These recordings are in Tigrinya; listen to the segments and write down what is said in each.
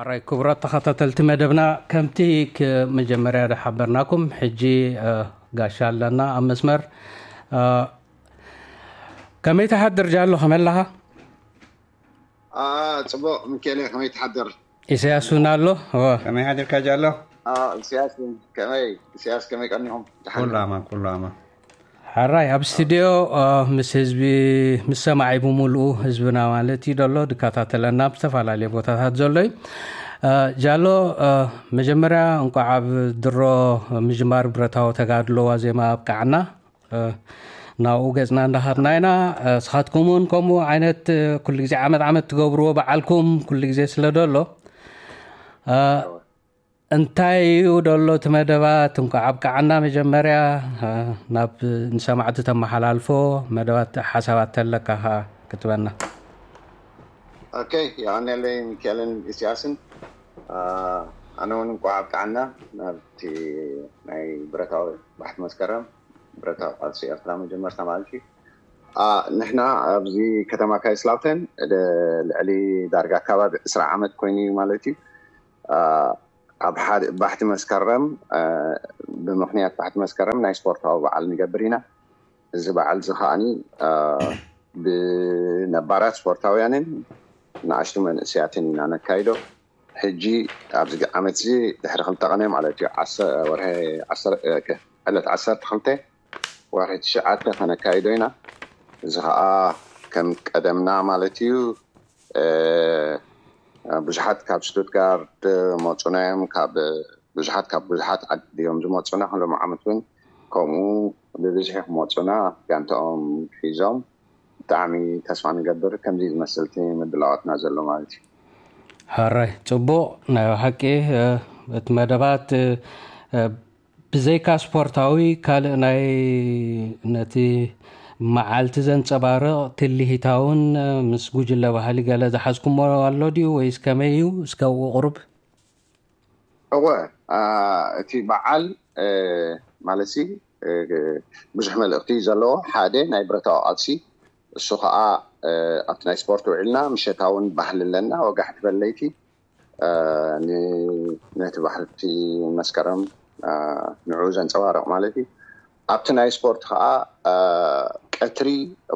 ኣራይ ክቡራት ተኸታተልቲ መደብና፣ ከምቲ ክ-፣ መጀመርያ ዝሓበርናኩም፣ ሕጂ፣ እ፣ ጋሻ ኣለና ኣብ መስመር። እ፣ ከመይ ትሓድር ጃሎ፣ ከመይ ኣለኻ? አ፣ ጽቡቕ ሚካኤል፣ ከመይ ትሓድር? ኢሳያስ እውን ኣሎ። እወ። ከመይ ሓዲርካ ጃሎ? አ፣ ኢሳያስ እውን ከመይ? ኢሳያስ ከመይ ቀኒኹም? ደሓን ኩሉ ዶ? ኣማን፣ ኩሉ ኣማን። ሓራይ ኣብ ስቱድዮ፣ እ፣ ምስ ህዝቢ፣ ምስ ሰማዒ ብምሉኡ ህዝብና ማለት እዩ ዘሎ፣ ድከታተለና ኣብ ዝተፈላለየ ቦታታት ዘሎ እዩ። እ፣ ጃሎ፣ እ፣ መጀመርያ እንቋዕ ኣብ ድሮ ምጅማር ብረታዊ ተጋድሎ ዋዜማ ኣብቃዓና። እ፣ ናብኡ ገጽና እንዳኻድና ኢና። እ፣ ስኻትኩም እውን ከምኡ ዓይነት፣ እ፣ ኩሉ ግዜ ዓመት ዓመት ትገብርዎ በዓልኩም ኩሉ ግዜ ስለ ደሎ፣ እ፣ እንታይ እዩ ደሎ እቲ መደባት? እንኳዕ ኣብቃዓና። መጀመርያ፣ እ፣ ናብ ንሰማዕቲ ተመሓላልፎ መደባት ሓሳባት ተለካ ኸዓ ክትበና። ኦኬ፣ የቐንየለይ ሚካኤልን ኢሳያስን። አ፣ ኣነ እውን እንኳዕ ኣብቃዓና ናብቲ ናይ ብረታዊ ባሕቲ መስከረም፣ ብረታዊ ቃልሲ ኤርትራ መጀመርታ ማለት እዩ። አ፣ ንሕና ኣብዚ ከተማ ካይስላውተን ደ-፣ ልዕሊ ዳርጋ ከባቢ ዕስራ ዓመት ኮይኑ እዩ ማለት እዩ። አ፣ ኣብ ሓደ ባሕቲ መስከረም፣ አ፣ ብምኽንያት ባሕቲ መስከረም ናይ ስፖርታዊ በዓል ንገብር ኢና። እዚ በዓል እዚ ከዓኒ፣ አ፣ ብነባራት ስፖርታውያንን ንኣሽቱ መንእሰያትን ኢና ነካይዶ። ሕጂ ኣብዚ ዓመት እዚ ድሕሪ ክልተ ቀነ ማለት እዩ፣ ዓሰ-፣ ወርሒ ዓሰርተ፣ እ፣ ዕለት ዓሰርተ ክልተ ወርሒ ትሽዓተ ከነካይዶ ኢና። እዚ ከዓ ከም ቀደምና ማለት እዩ፣ እ፣ ብዙሓት ካብ ስቱትጋርድ መፁና እዮም፣ ካብ ብዙሓት፣ ካብ ብዙሓት ዓዲ እዮም ዝመፁና። ሎም ዓመት እውን ከምኡ ብብዝሒ ክመፁና ጋንታኦም ሒዞም። ብጣዕሚ ተስፋ ንገብር ከምዚ ዝመስል እቲ ምድላዋትና ዘሎ ማለት እዩ። ሕራይ፣ ጽቡቕ። ናይ ብሓቂ፣ እ፣ እቲ መደባት፣ እ፣ እ፣ ብዘይካ ስፖርታዊ ካልእ ናይ ነቲ መዓልቲ ዘንጸባርቕ ትልሂታውን፣ እ፣ ምስ ጉጅለ ባህሊ ገለ ዝሓዝኩሞ ኣሎ ድዩ ወይስ ከመይ እዩ? እስከ ኣብኡ ቁሩብ። እወ፣ አ፣ እቲ በዓል፣ እ፣ ማለትሲ፣ እ፣ ብዙሕ መልእኽቲ ዘለዎ ሓደ ናይ ብረታዊ ቃልሲ፣ እሱ ኸዓ፣ እ፣ ኣብቲ ናይ ስፖርት ውዒልና ምሸታውን ባህሊ ኣለና፣ ወጋሕቲ በለይቲ፣ እ፣ ን-፣ ነቲ ባህልቲ መስከረም፣ እ፣ ንዕኡ ዘንጸባርቕ ማለት እዩ። ኣብቲ ናይ ስፖርት ኸዓ፣ እ፣ ቀትሪ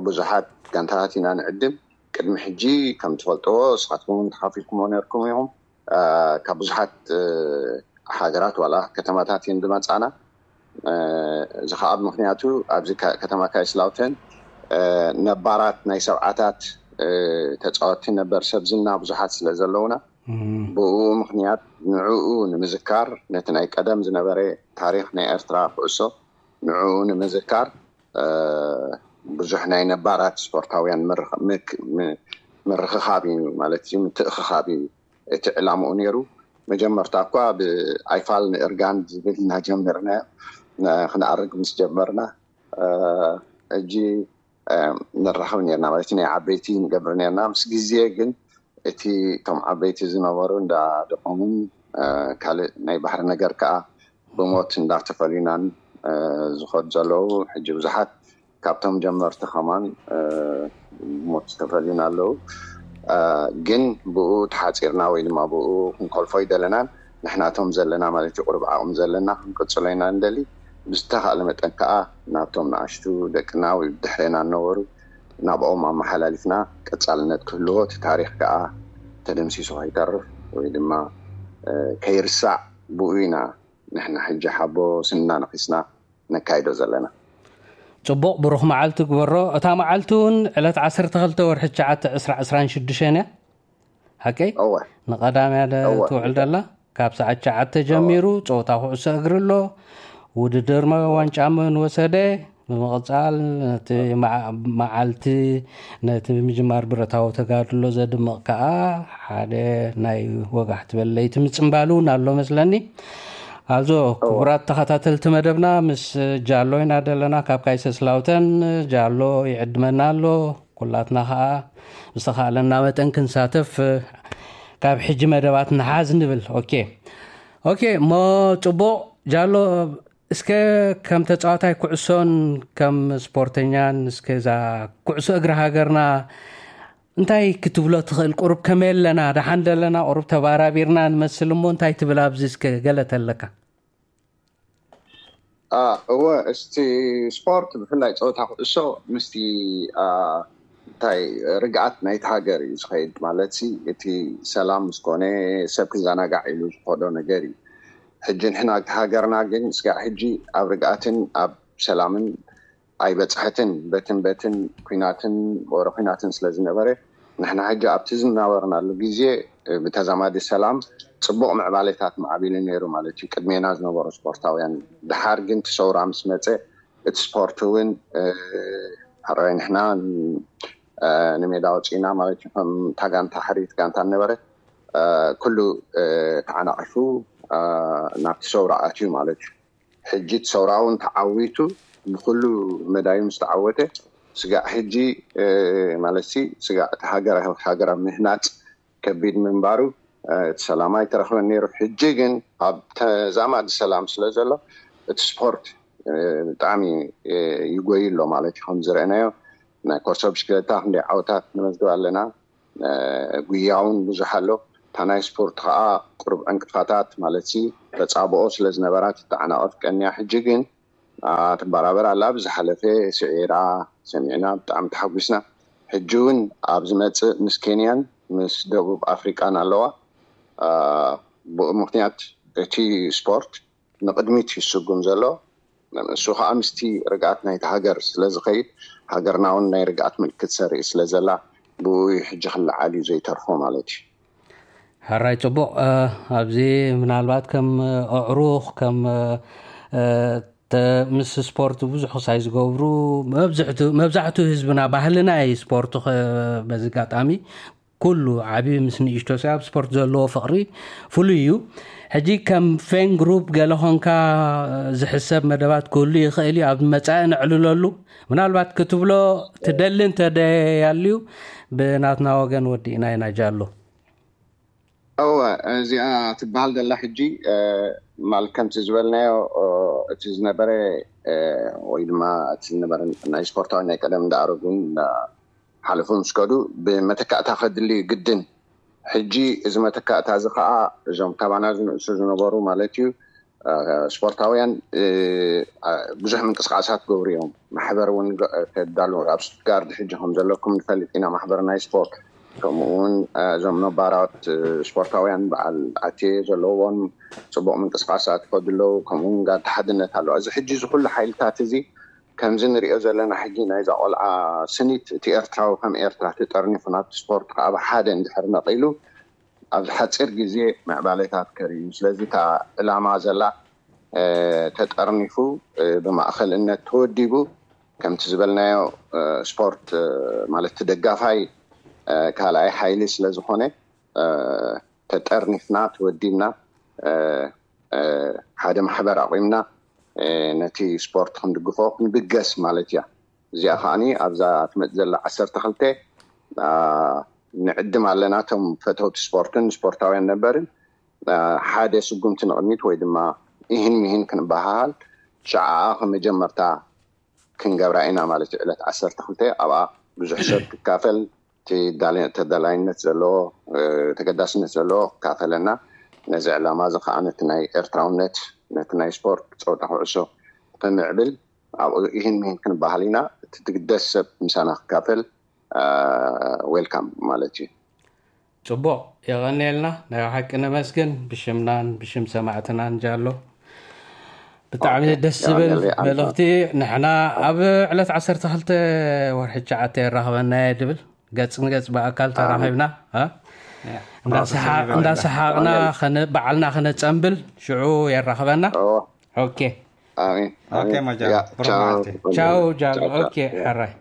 ብዙሓት ጋንታታት ኢና ንዕድም። ቅድሚ ሕጂ ከም ትፈልጥዎ፣ ንስኻትኩም እውን ተኻፊልኩምዎ ነርኩም ኢኹም። እ፣ ካብ ብዙሓት፣ እ፣ ሃገራት ዋላ ከተማታት እየን ዝመጻና። እ፣ እዚ ኸዓ ብምኽንያቱ ኣብዚ ከ-፣ ከተማ ካይስላውተን፣ እ፣ ነባራት ናይ ሰብዓታት፣ እ፣ ተጻወትቲ ነበር ሰብ ዝና ብዙሓት ስለ ዘለውና፣ እም። ብኡ ምኽንያት ንዕኡ ንምዝካር፣ ነቲ ናይ ቀደም ዝነበረ ታሪኽ ናይ ኤርትራ ኩዕሶ ንዕኡ ንምዝካር፣ እ፣ ብዙሕ ናይ ነባራት ስፖርታውያን ምርኽ-፣ ምክ-፣ ም-፣ ምርኽኻብ እዩ ማለት እዩ፣ ምትእኽኻብ እዩ እቲ ዕላምኡ ነይሩ። መጀመርታ እኳ ብኣይፋል ንእርጋን ዝብል እናጀመርና፣ ና-፣ ክንኣርግ ምስ ጀመርና፣ እ፣ ሕጂ፣ እ፣ ንራኸብ ነርና ማለት እዩ፣ ናይ ዓበይቲ ንገብር ነርና። ምስ ግዜ ግን እቲ እቶም ዓበይቲ ዝነበሩ እንዳደቆሙን፣ እ፣ ካልእ ናይ ባህሪ ነገር ከኣ ብሞት እንዳተፈልዩናን፣ እ፣ ዝኸዱ ዘለዉ። ሕጂ ብዙሓት ካብቶም ጀመርቲ ከማን፣ እ፣ ብሞት ዝተፈልዩና ኣለዉ። እ፣ ግን ብኡ ተሓጺርና ወይ ድማ ብኡ ክንከልፎ ኣይደለናን። ንሕናቶም ዘለና ማለት እዩ፣ ቁሩብ ዓቕሚ ዘለና ክንቅጽሎ ኢና ንደሊ። ብዝተኻእለ መጠን ከኣ ናብቶም ንኣሽቱ ደቅና ወይ ብድሕሬና ዝነበሩ ናብኦም ኣመሓላሊፍና ቀጻልነት ክህልዎ፣ እቲ ታሪኽ ከኣ ተደምሲሱ ከይተርፍ ወይ ድማ፣ እ፣ ከይርሳዕ ብኡ ኢና ንሕና ሕጂ ሓቦ ስንና ነኺስና ነካይዶ ዘለና። ጽቡቕ፣ ብሩኽ መዓልቲ ግበሮ። እታ መዓልቲ እውን ዕለት ዓሰርተ ክልተ ወርሒ ትሽዓተ ዕስራ ዕስራን ሽዱሽተን እያ። ሓቀይ? እወ። ንቐዳምያ ደ-፣ እወ። ትውዕል ደላ። ካብ ሰዓት ትሽዓተ ጀሚሩ ጸወታ ኩዕሶ እግሪ ኣሎ። ውድድር መ-፣ ዋንጫ መን ወሰደ? ብምቕጻል ነቲ መዓ-፣ መዓልቲ ነቲ ምጅማር ብረታዊ ተጋድሎ ዘድምቕ ከኣ ሓደ ናይ ወጋሕቲ በለይቲ ምጽምባል እውን ኣሎ መስለኒ። ኣዞ እወ። ክቡራት ተኸታተልቲ መደብና፣ ምስ ጃሎ ኢና ደለና ካብ ካይሰስላውተን። ጃሎ ይዕድመና ኣሎ። ኩላትና ኸዓ ብዝተኻእለና መጠን ክንሳተፍ፣ እ፣ ካብ ሕጂ መደባት ንሓዝ ንብል። ኦኬ። ኦኬ፣ እሞ ጽቡቕ ጃሎ፣ እስከ ከም ተጻዋታይ ኩዕሶን ከም ስፖርተኛን እስከ እዛ ኩዕሶ እግሪ ሃገርና እንታይ ክትብሎ ትኽእል? ቁሩብ ከመይ ኣለና? ደሓን ደለና? ቁሩብ ተባራቢርና ንመስል እሞ እንታይ ትብል? ኣብዚ እስከ ገለ ተለካ። እወ፣ እስቲ ስፖርት፣ ብፍላይ ፀወታ ኩዕሶ ምስቲ እንታይ ርግኣት ናይቲ ሃገር እዩ ዝኸይድ። ማለት እቲ ሰላም ምስኮነ ሰብ ክዘናጋዕ ኢሉ ዝኸዶ ነገር እዩ። ሕጂ ንሕና ሃገርና ግን ስጋዕ ሕጂ ኣብ ርግኣትን ኣብ ሰላምን ኣይበፅሐትን። በትን በትን ኩናትን ወረ ኩናትን ስለ ዝነበረ ንሕና ሕጂ ኣብቲ ዝናበርናሉ ግዜ ብተዛማዲ ሰላም ፅቡቕ ምዕባሌታት ማዕቢሉ ነይሩ ማለት እዩ። ቅድሜና ዝነበሩ ስፖርታውያን ድሓር ግን እቲ ሰውራ ምስ መፀ እቲ ስፖርት እውን ሕራይ ንሕና ንሜዳ ወፂና ማለት እዩ። ከም እታ ጋንታ ሕሪት ጋንታ ነበረ ኩሉ ተዓናቒፉ ናብቲ ሰውራ ኣትዩ ማለት እዩ። ሕጂ እቲ ሰውራ እውን ተዓዊቱ ብኩሉ መዳዩ ምስ ተዓወተ ስጋዕ ሕጂ ማለት ስጋዕ እቲ ሃገር ሃገር ኣብ ምህናፅ ከቢድ ምንባሩ እቲ ሰላም ኣይተረኽበን ነይሩ። ሕጂ ግን ኣብ ተዛማዲ ሰላም ስለ ዘሎ እቲ ስፖርት ብጣዕሚ ይጎይ ኣሎ ማለት እዩ። ከም ዝረአናዮ ናይ ኮርሶ ብሽክለታ ክንደይ ዓወታት ንመዝግብ ኣለና። ጉያ እውን ብዙሕ ኣሎ። እታ ናይ ስፖርት ከዓ ቁሩብ ዕንቅፋታት ማለት ተፃብኦ ስለ ዝነበራ ትተዓናቐፍ ቀንያ። ሕጂ ግን ትበራበር ኣላ። ብዝሓለፈ ስዒራ ሰሚዕና ብጣዕሚ ተሓጒስና። ሕጂ እውን ኣብ ዝመፅእ ምስ ኬንያን ምስ ደቡብ ኣፍሪቃን ኣለዋ። ብኡ ምክንያት እቲ ስፖርት ንቕድሚት ይስጉም ዘሎ። እሱ ከዓ ምስቲ ርግኣት ናይቲ ሃገር ስለ ዝኸይድ ሃገርና እውን ናይ ርግኣት ምልክት ሰርኢ ስለ ዘላ ብኡ ሕጂ ክለዓል እዩ ዘይተርፎ ማለት እዩ። ሕራይ ፅቡቕ። ኣብዚ ምናልባት ከም ኣዕሩኽ ከም ምስ ስፖርት ብዙሕ ክሳይ ዝገብሩ መብዛሕቱ ህዝብና ባህልና እዩ ስፖርት። በዚ ኣጋጣሚ ኩሉ ዓብዪ ምስ ንእሽቶ ሰብ ኣብ ስፖርት ዘለዎ ፍቕሪ ፍሉይ እዩ። ሕጂ ከም ፌን ግሩፕ ገለ ኾንካ ዝሕሰብ መደባት ክህሉ ይኽእል እዩ። ኣብ መጻኢ ነዕልለሉ ምናልባት ክትብሎ ትደሊ እንተደያልዩ ብናትና ወገን ወዲእና ኢና ጃሎ። እወ፣ እዚኣ ትበሃል ዘላ ሕጂ ማለት ከምቲ ዝበልናዮ እቲ ዝነበረ ወይ ድማ እቲ ዝነበረ ናይ ስፖርታዊ ናይ ቀደም እንዳኣረጉን ሓለፉ ምስ ከዱ ብመተካእታ ከድሊ ግድን። ሕጂ እዚ መተካእታ እዚ ከዓ እዞም ካባና ዝንእሱ ዝነበሩ ማለት እዩ ስፖርታውያን ብዙሕ ምንቅስቃሳት ክገብሩ እዮም። ማሕበር እውን ተዳሉ ኣብ ስቱትጋርድ ሕጂ ከም ዘለኩም ንፈልጥ ኢና። ማሕበር ናይ ስፖርት ከምኡ እውን እዞም ነባራት ስፖርታውያን በዓል ኣቴ ዘለዎም ፅቡቅ ምንቅስቃሳት ይኸዱ ኣለዉ። ከምኡ እውን ጋንታ ሓድነት ኣለዋ። እዚ ሕጂ እዚ ኩሉ ሓይልታት እዚ ከምዚ ንሪኦ ዘለና ሕጂ ናይዛ ቆልዓ ስኒት እቲ ኤርትራዊ ከም ኤርትራ ተጠርኒፉ ናብቲ ስፖርት ከዓ ብሓደ እንድሕር መቒሉ ኣብዚ ሓፂር ግዜ ምዕባለታት ከርእዩ። ስለዚ እታ ዕላማ ዘላ ተጠርኒፉ ብማእኸልነት ተወዲቡ ከምቲ ዝበልናዮ ስፖርት ማለት ደጋፋይ ካልኣይ ሓይሊ ስለ ዝኾነ ተጠርኒፍና ተወዲብና ሓደ ማሕበር ኣቑምና ነቲ ስፖርት ክንድግፎ ክንብገስ ማለት እያ። እዚኣ ከዓኒ ኣብዛ ትመፅእ ዘላ ዓሰርተ ክልተ ንዕድም ኣለና። እቶም ፈተውቲ ስፖርትን ስፖርታውያን ነበርን ሓደ ስጉምቲ ንቕድሚት ወይ ድማ ኢህን ሚህን ክንበሃሃል ሸዓኣ ከመጀመርታ ክንገብራ ኢና ማለት እዩ። ዕለት ዓሰርተ ክልተ ኣብኣ ብዙሕ ሰብ ክካፈል ተዳላይነት ዘለዎ ተገዳስነት ዘለዎ ክካፈለና ነዚ ዕላማ እዚ ከዓ ነቲ ናይ ኤርትራውነት ነቲ ናይ ስፖርት ፀወታ ኩዕሶ ክምዕብል ኣብኡ ኢህን ሚህን ክንበሃል ኢና። እቲ ትግደስ ሰብ ምሳና ክካፈል ዌልካም ማለት እዩ። ፅቡቕ፣ የቐንየልና። ናይ ሓቂ ነመስግን ብሽምናን ብሽም ሰማዕትናን ጃሎ። ብጣዕሚ ደስ ዝብል መልእኽቲ። ንሕና ኣብ ዕለት ዓሰርተ ክልተ ወርሒ ትሽዓተ የራኽበና እየ ድብል ገፅ ንገፅ ብኣካል ተራኺብና እንዳሰሓቕና ከነባዕልና ከነፀንብል ሽዑ የራኽበና። ኦኬ። ቻው ጃሎ። ኦኬ፣ ሕራይ።